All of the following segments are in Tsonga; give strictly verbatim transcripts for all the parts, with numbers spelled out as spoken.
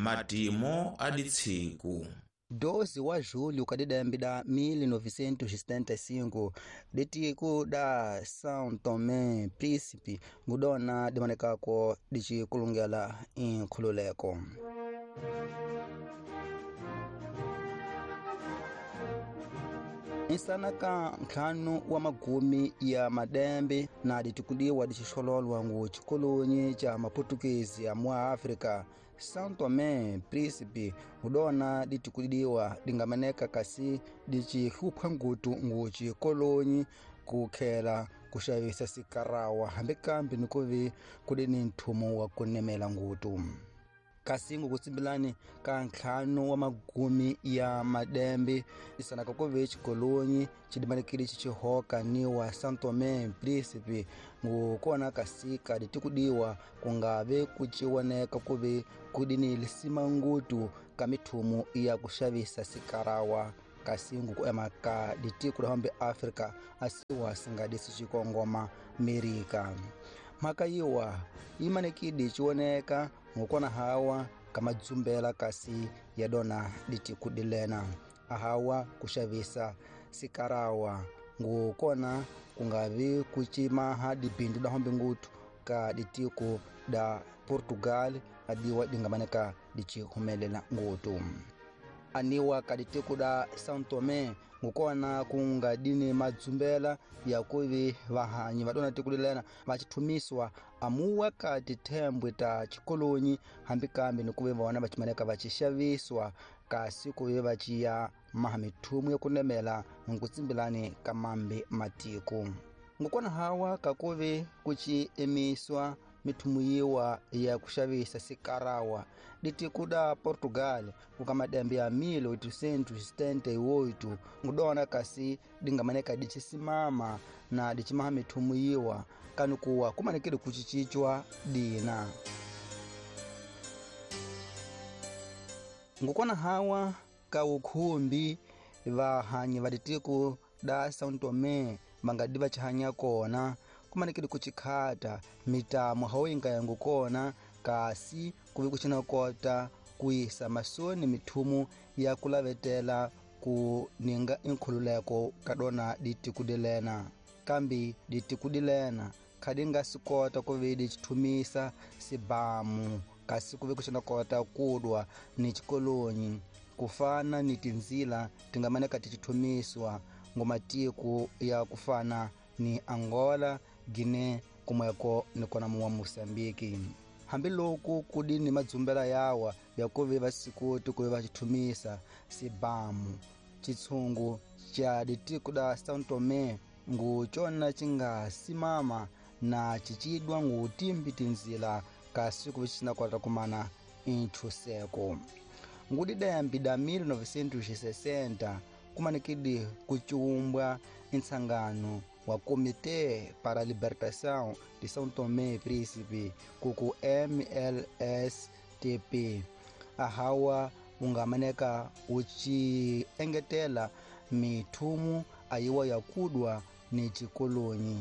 Matimo a ditsiku. doze wa julho ka didembe da mil novecentos e setenta e cinco ditiku da São Tomé Príncipe ngudona dimanekako dicikulungela inkhululeko. Insana ka ntlhanu wa magumi ya madembe na ditikudiwa dixixololwa ngu xikolonyi xa maputukezi ya mwa África, São Tomé Príncipe ngudona ditikudiwa dingameneka kasi dicihlupha ngutu ngu xikolonyi ku khela kuxavisa sikarawa hambi kambe ni kuvi kuli ni nthumo wa kunemela ngutu. Kasi ngukutsimbilani ka ntlhanu wa magumi ya madembe isanaka kuve xikolonyi xidimanikile xixihoka ni wa São Tomé Príncipe ngukona kasika ditikudiwa kungave kuciwoneka kuve kudini lisima ngutu ka mithumu ya kuxavisa sikarawa kasi ngukuema ka ditiku la hambe Afrika asiwa singadisi xikongoma Amerika. Mhaka yiwa yimanekidi xiwoneka ngukona hawa kamadzumbela kasi ya dona ditikudilena ahawa kuxavisa sikarawa ngukona kungavi kucimaha dibindu da hombe ngutu ka ditiku da Portugal adiwa dingamaneka dicihumelela ngutu. Aniwa ka ditiku da São Tomé ngukona kungadini madzumbela ya kuvi vahanyi vadona tikulilena vachithumiswa amuwa ka tithembwe ta xikolonyi hambi kambe ni kuve vona vachimaneka vachixaviswa kasi kuve vaciya maha mithumu ya kunemela nkutsimbilani ka mambe matiko. Ngukona hawa kakuve kuci emiswa mithumu yiwa ya kuxavisa sikarawa ditiku da Portugal kuka madembe ya mil oitocentos e setenta e oito ngudona kasi dingamaneka dicisimama na dicimaha mithumu yiwa kanukuwa kumanekile kucicicwa dina. Ngukona hawa ka ukhumbi vahanyi va ditiku da São Tomé vangadi vachihanya kona kumanekile kuchikhata mitamo hawoyinga yangu kona kasi kuvi kucina kota kuyisa masoni mithumu ya kulavetela ku ninga inkhululeko kadona ditikudilena. Kambi ditikudilena khadi nga sikota kuvi dicithumisa sibamu kasi kuvi kucina kota kudwa ni xikolonyi kufana ni tinzila tingamaneka ticithumiswa ngomatiku ya kufana ni Angola, Guinea kumweko ni kona muwa Mozambique. Hambiloko kudini madzumbela yawa ya kuve vasikoti kuve vachithumisa sibamu chitshungu cha ditiku da São Tomé ngu cona cinga simama na cicidwa ngu timbi tinzila kasi kuve cina kota kumana inthuseko. Ngudidembe da mil novecentos e sessenta kumanekidi kuciumbwa intsangano wa Comitê para a Libertação de São Tomé e Príncipe kuku M L S T P ahawa ungamaneka uci engetela mithumu ayiwa ya kudwa ni xikolonyi.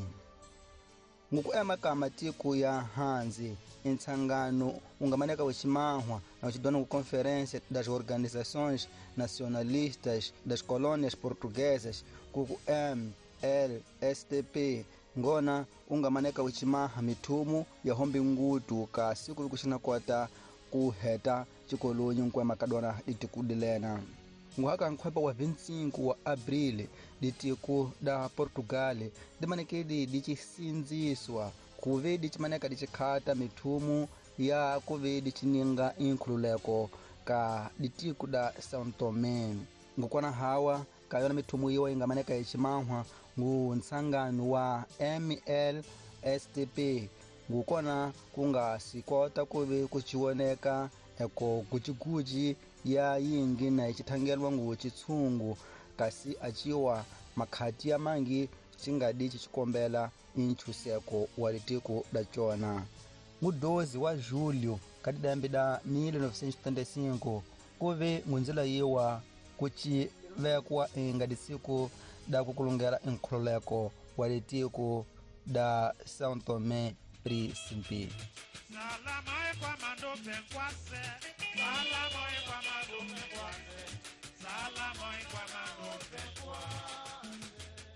Ngukuema ka matiko ya hansi intsangano ungamaneka ucimahwa na ucidona ku Conferência das Organizações Nacionalistas das Colônias Portuguesas kuku M L S T P ngona ungamaneka ucimaha mithumu ya hombe ngutu kasi kuvi kuxina kota ku heta xikolonyi nkwema kadona ditikudilena. Nguhaka nkhwepa wa vinte e cinco wa abril ditiku da Portugal dimanekedi dicisinziswa kuve dicimaneka dicikhata mithumu ya kuve dicininga inkhululeko ka ditiku da São Tomé. Ngukwana hawa ka yona mithumu yiwa ingamaneka icimahwa ngu ntsangano wa M L S T P ngukona kunga sikota kuve kuciwoneka eko guciguci ya yingi na icithangelwa ngu citshungu kasi aciwa makhati ya mangi cingadi cicikombela inchuseko wa litiko da cona. Ngu doze wa julho ka didembe da mil novecentos e setenta e cinco kuve ngunzila yiwa kucivekwa inga disiku da kukulungela inkhululeko wa litiko da São Tomé Príncipe. Salama kwa mandope nkwase.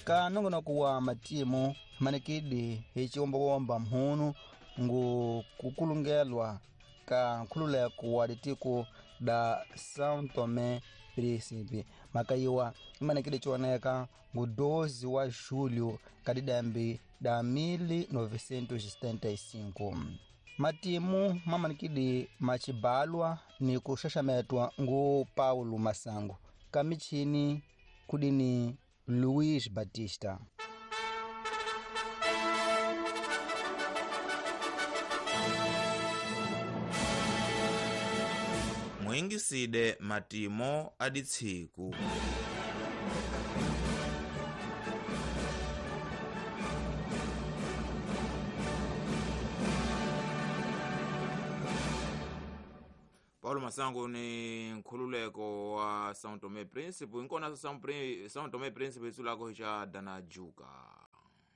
Ka nongonoko wa matimu manikidi hi ciwombawomba mhunu ngu kukulungelwa ka nkhululeko wa litiko da São Tomé Príncipe. Makayiwa imanekile cioneka ngu doze wa julho ka didambi da mil novecentos e setenta e cinco. Matimu mamanikidi macibalwa ni kuxaxametwa ngu Paulo Masango ka michini kudini Luiz Batista. Muingiside matimo aditsiku. Paulo Masango ni nkhululeko wa São Tomé Príncipe inkona São Tomé Príncipe itsulako xa Dana Juka.